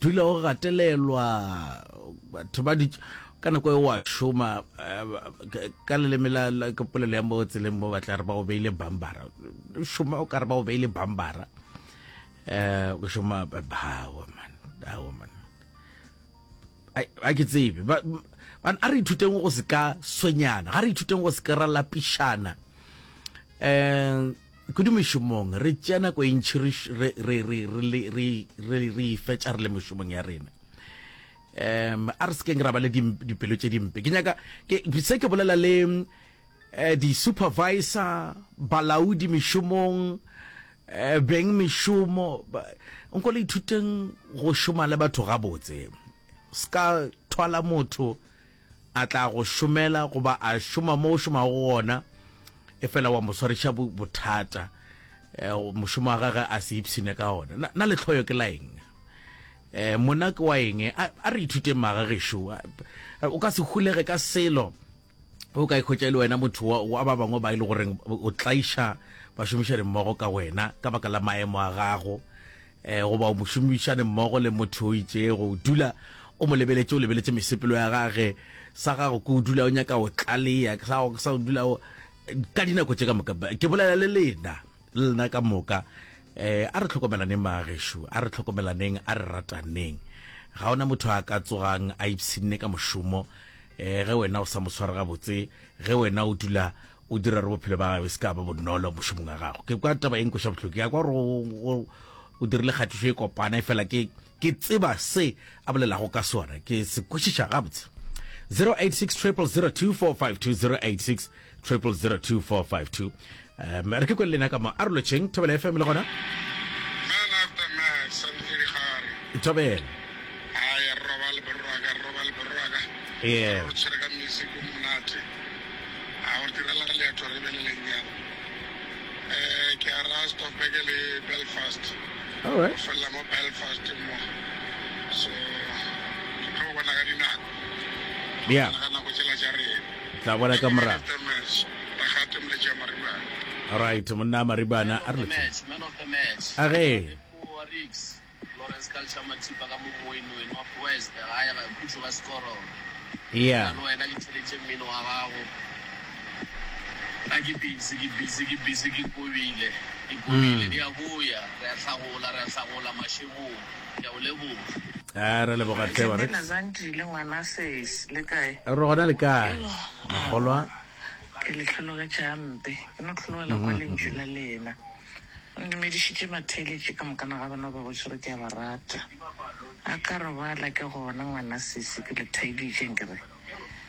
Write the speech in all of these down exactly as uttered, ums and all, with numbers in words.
Dula o gatelelwa, batho ba di ka nako e wa šoma, ka leleme la, la ka polelo ya mo tseleng mo ba tla re ba o beile bambara. Šoma o ka re ba o beile bambara. Eh, o šoma bawa man, awa man. Ai, a ke tsebe. Ba, ba, a re ithuteng go se ka swenyana, ga re ithuteng go se ka ra lapišana. Eh, kudu mešomong re tšea nako e ntši re, re, re, re, re, re, re, re ifetša re le mešomong ya rena. Um, a re sekeng ra ba le dipelo tše dimpe. Ke nyaka ke se ke bolela le eh, di-supervisor, balaodi mešomong, eh, beng mešomo, nko le ithuteng go šoma le batho gabotse. Ska thwala motho a tla go šomela goba a šoma mo o šomago gona, e fela wa mo swariša bothata, eh, mošomo wa gagwe a se ipshine ka ona. Na, na lehloyo ke la eng? Eh, mona ke wa eng? A, a re ithuteng magagešo. O ka se hulege ka selo o ka ikhwetša e le wena motho wa, wa ba bangwe ba e le goreng o tlaiša bašomišane mmogo ka wena ka baka la maemo a gago, eh, goba o mošomišane mmogo le motho o itšego, o dula o mo lebeletše, o lebeletše mesepelo ya gage, sa gago ke o dula o nyaka o tlalea, sa gago sa o dula o ka dinako tše ka moka. Ke bolela le lena, le lena ka moka. Eh, a re tlhokomelaneng magagešo, a re tlhokomelaneng, a re rataneng. Ga ona motho a ka tsogang a ipshinne ka mošomo, eh, ge wena o sa mo sware gabotse, ge wena o dula o dira re bophelo ba gagwe se ka ba bonolo mošomong wa gago. Ke kwa taba e nkweša bohloko, ke ya kwa gore o dirile kgatišo e kopana, e fela ke ke tseba se a bolelago ka sona, ke se kwešiša gabotse. zero eight six triple zero two four five two, zero eight six triple zero two four five two. Um, re ke kwele lena ka mo a re lotšheng Thobela F M le gona. Man after man, Sanfiri Gare. Thobela. Ai, robale borwaka, robale borwaka. Yeah. Re tshwere ka music o monate. A o direla leeto re be le lenyalo. Eh, ke a ra Stoffberg le Belfast. All right. O fella mo Belfast mo. So, ke tlo bona ka dinako. Yeah. Ka nako tsela tša rena. Tla bona ka morago. All right, monna Maribana a re lotšheng. Man of the match. A ge. Lawrence Culture Mathipa ka mo Moinoe, North West, gae ga khutšo ga Sekoro. Yeah. Le wena ke theletše mmino wa gago. Nna ke busy, ke busy, ke busy, ke kobile, ke kobile. Di a boya, re a hlagola, re a hlagola mašegong. Ke a o leboga. A re leboga tle wa re. Nna Zandile ngwana sesi, le kae? Re gona le kae? Mogolwa. Ke le hlologetše hampe. Ke no hlologela kwa lentšu la lena. O ndumedišitše matheeletše ka mokana ga bona ba botše gore ke a ba rata. A ka robala ke gona ngwana sesi ke le thaeditše nkere.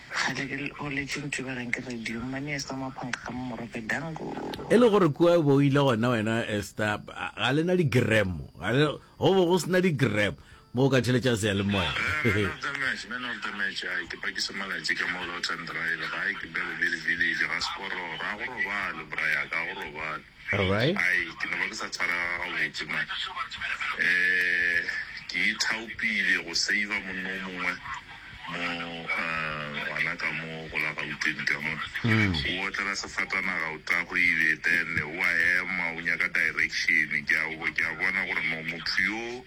Kgale ke goletše ntubegeng ke radio. Mmane Esther Maphanka ka mo Morope dango. E le gore kua bo ile gona wena Esther, ga lena di-gram, ga le go bo go sena di-gram mo o ka theletša seyalemoya. Man of the match, man of the match, ai ke pakisa malatši ka mo Lawton Drive, gae ke Belleville Village, ga Sekororo, ga go robale bra ya ka, ga go robale. All right. Ai ke no ba ke sa tshwarega gabotse man. Eh, ke ithaopile go save monna o mongwe mo gona ka mo go la Gauteng ka mo. O otlela sefatanaga o tagwile, then o a ema o nyaka direction. Ke a ke a bona gore no motho yo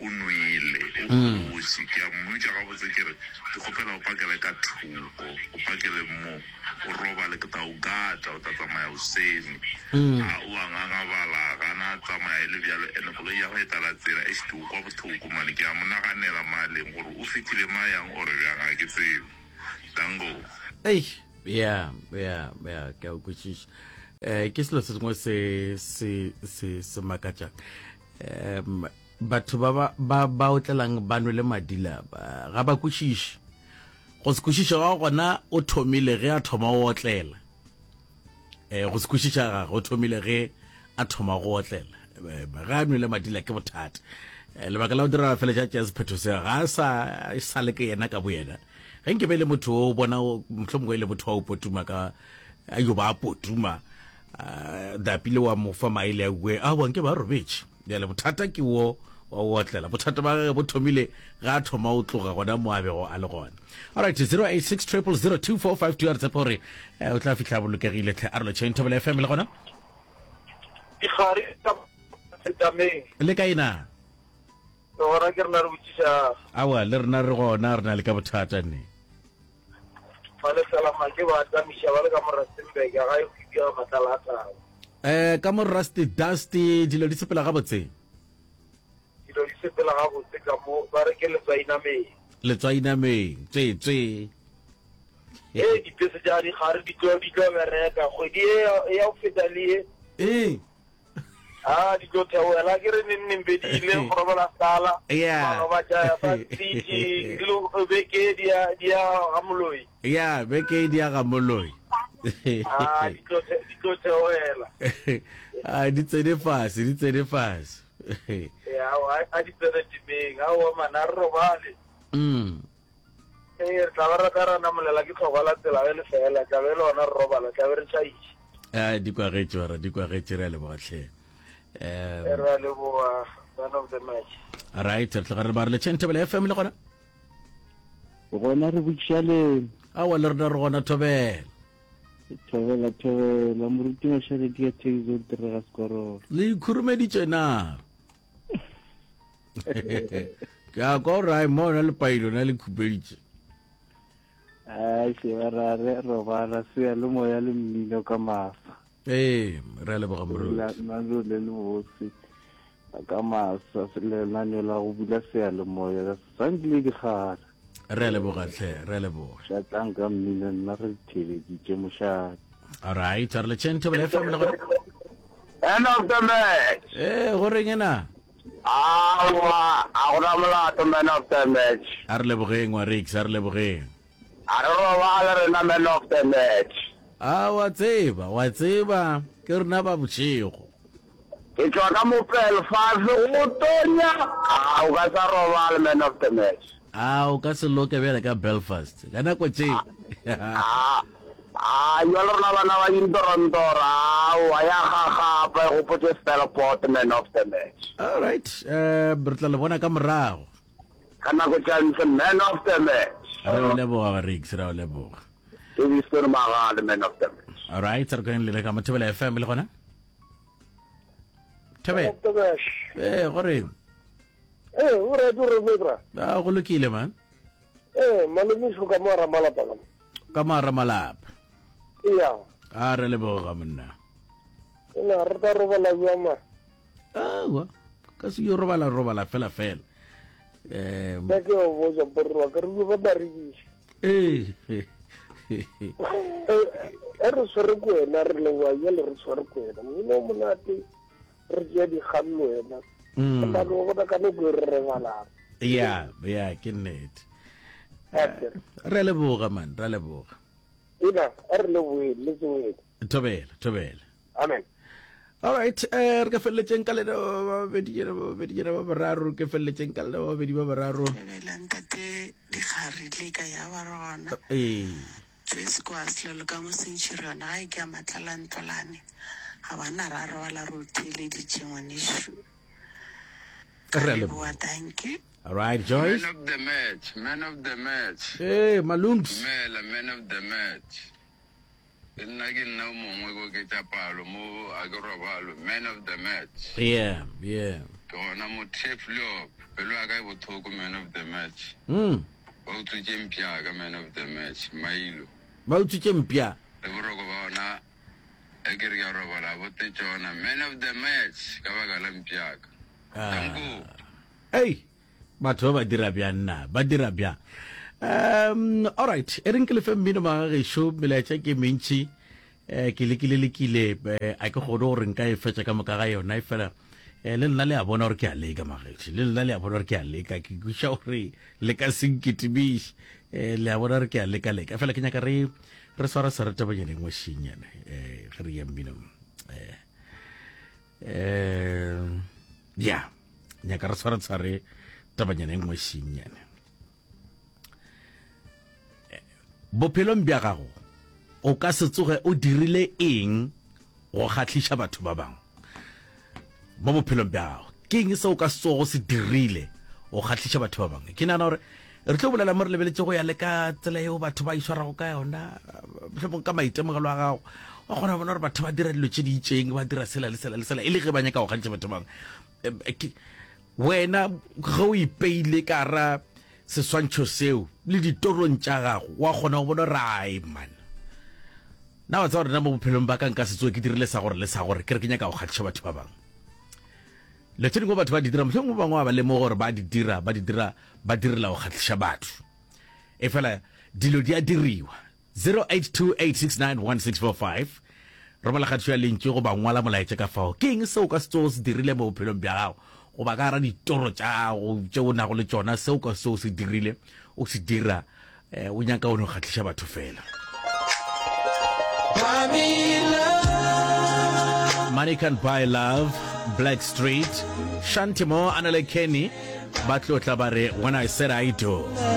o nwele, o kgoši. Ke a mmotša gabotse ke re ke kgopela o pakele ka thoko, o pakele mo, o robale, ke tla o gata, o tla tsamaya hoseng. A o a ngangabala, gana tsamaya e le bjalo, ene koloi ya go e tlala tsela e šite o kwa bohloko mane. Ke a mo naganela maleng gore o fihlile mayang ore bjang, ga ke tsebe. Dango. Eish, yeah, yeah, yeah, ke a o kwešiša. Eh, ke selo se sengwe se se se se makatšang. Um, batho ba ba ba ba otlelang ba nwele madila ba, ga ba kwešiše. Go se kwešiša ga gona o thomile ge a thoma go otlela. Eh, go se kwešiša ga go thomile ge a thoma go otlela. Ga a nwele madila ke bothata. Lebaka la go dira feletša tša sephetho se ga sa sa le ke yena ka boyena. Ge nke be le motho o bona mohlomongwe e le motho wa o potuma ka a yo ba potuma, dapile wa mo fa maele a bue, a wa nke ba robetše. Bjale bothata ke wo wa o otlela. Bothata ba gagwe bo thomile ga a thoma o tloga gona mo a bego a le gona. All right, zero eight six triple zero two four five two, a re tshepa gore o tla fihla bolokegile tlhe. A re lotšheng Thobela F M le gona. Dikgare ka setameng. Le kae na? Re gona ke rena re botšiša. Aowa, le rena re gona, re na le ka bothata ne. Ba le Salamake ba tamiša ba le ka mo Rustenburg, ga e hwibja ga matlala a tau. Eh, ka mo Rusty Dusty dilo di sepela gabotse? Dilo di sepela gabotse ka mo, ba re ke letswai nameng. Letswai nameng, tswe tswe. Ee, dipese tša dikgare di tlo di tlo bereka kgwedi ye ya go feta le ye. Ee. A di tlo theogela ke re neng neng be di ile go robala sala. Yeah. Maloba tša ya Sun City, di lo beke di ya di ya ga Moloi. Ya, beke di ya ga Moloi. A di tlo di tlo theogela. A di tsene fase, di tsene fase. Ya, a di tsene temeng. Aowa man, a re robale. Mm. Ee, re tla ba ra tla ra namolela ke tlhokwa la tsela ge le fela, tla be e le gona re robala, tla be re tšhaiša. A di kwagetše bara, di kwagetše, re a leboga hle. Um, Re a leboga, man of the match. Right, re tloga re ba re le tšheng Thobela F M le gona. Gona re botšiša leng? Aowa le rena re gona Thobela. Thobela, Thobela, moruti Mašaledi ka Taxi Zone tere ga Sekorolo. Le ikhurumeditše na? Ke a kwa gore ai mo na le pailo na le khupeditše. Ai se ba ra re robala se le moya le mmino ka masa. Ee, re a leboga moruti. La nalo le le botse ka masa lenaneo la go bula seyalemoya sankile dikgala. Re a leboga tlhe, re a leboga. Šatlang ka mmino nna re theleditše mošate. All right, re le tšheng Thobela F M le gona. End of the match. Ee, go reng ena? Aowa, a gona molato man of the match. A re lebogeng wa Rix, a re lebogeng. A re robale rena man of the match. A wa tseba, wa tseba, ke rena ba bošego. Ke tšwa ka mo Belfast go tonya. A o ka sa robale man of the match. A o ka se loke bjale ka Belfast ka nako tše. A a jwale rena bana ba dintorontoro, aowa ya gagapa e gopotše Stelport man of the match. All right, eh re tla le bona ka morago. Ka nako tša ntshe man of the match. Re o leboga Rix, re o leboga. Ke Winston Magale man of the match. All right, re keng le ka Thobela F M le gona. Thobela. Eh, go reng? Eh, o re o re bra. A go lokile man. Eh, malome ka mo ramalapa ka. Ka mo ramalapa. Iya. A re leboga monna. Ena re tla robala jwang ma? Aowa, ka se yo robala robala fela fela. Eh, Nna ke o botsa borwa ka re ba ba rekiša. Eh. E re tshwere ko wena re leboa jale re tshwere ko wena. Mmino o monate re tšea dikgang le wena. Mm. Ka no bona ka nako e re rebalang. Ya, ya ke nnete. Re a leboga man, re a leboga. Ena, a re leboge le tsoele. Thobela, thobela. Amen. All right, eh re ka feleletšeng ka lena ba babedi jena ba babedi jena ba bararo, re ka feleletšeng ka lena ba babedi ba bararo. Thobela ntate dikgare le ka ya ba re gona. Ee. Joyce kwa selelo ka mo Centurion ga e ke ya matlala ntlolane. Ga bana ra robala re o theeleditše ngwanešu. Re a leboga, leboga. thank you. All right, Joyce. Man of the match, man of the match. Hey, Malungs. Dumela, man of the match. Le nna ke nna o mongwe ko ketša palo mo a ke robalo, man of the match. Yeah, yeah. Ke gona mo Tafelkop, pelo ya ka e bothoko, man of the match. Mm. Ba utswitše mpša ka man of the match, Mailo. Ba utswitše mpša. Le boroko ba ona e ke re ke a robala bo te tšona, man of the match ka baka la mpša ka. Danko. Hey, batho ba ba dira bjang na? Ba dira bjang? Um, all right, e reng ke lefe mmino magagešo, melaetša ke mentši, eh, ke lekile lekile, eh, a ke kgone gore nka e fetša ka moka ga yona, e fela, eh, le nna le a bona gore ke a leka magešo, le nna le a bona gore ke a leka, ke kweša gore le ka se nketimiše, eh, le a bona gore ke a leka leka, fela ke nyaka re re swara swara tabanyana e nngwe šinyana, eh, ge re ya mminong, eh, eh, ya, nyaka re swara tshware tabanyana e nngwe šinyana. Bophelong bja gago o ka se tsoge o dirile eng go kgahliša batho ba bangwe? Mo bophelong bja gago ke eng se o ka se tsogo se dirile go kgahliša batho ba bangwe? Ke nagana gore re tlo bolela mo re lebeletše go ya le ka tsela yeo batho ba itshwarago ka yona, mohlomong ka maitemogelo a gago wa kgona go bona gore batho ba dira dilo tše di itšeng, ba dira sela le sela le sela e le ge ba nyaka go kgantšha batho ba bangwe. Wena ge o ipeile ka ra seswantšho seo le ditorong tša gago, wa kgona go bona gore ai man, na wa tseba gore nna mo bophelong ba ka nka se tsoge ke dirile sa gore le sa gore, ke re ke nyaka go kgahliša batho ba bangwe. Dilo tše dingwe batho ba di dira, mohlomongwe ba bangwe ba ba lemoge gore ba di dira, ba di dira, ba direla go kgahliša batho. Efela dilo di a diriwa. Zero eight two eight six nine one six four five Romela kgatišo ya lentšu goba ngwala molaetša ka fao. Ke eng seo o ka se tsogo se dirile mo bophelong bja gago goba ka gara ditoro tša gago tše o nago le tšona seo ka se o se dirile o se dira eh, o nyaka o no kgahliša batho fela. Money Can Buy Love, Black Street, Shanti Mo, Anele Kenny, ba tlo tla ba re When I Said I Do.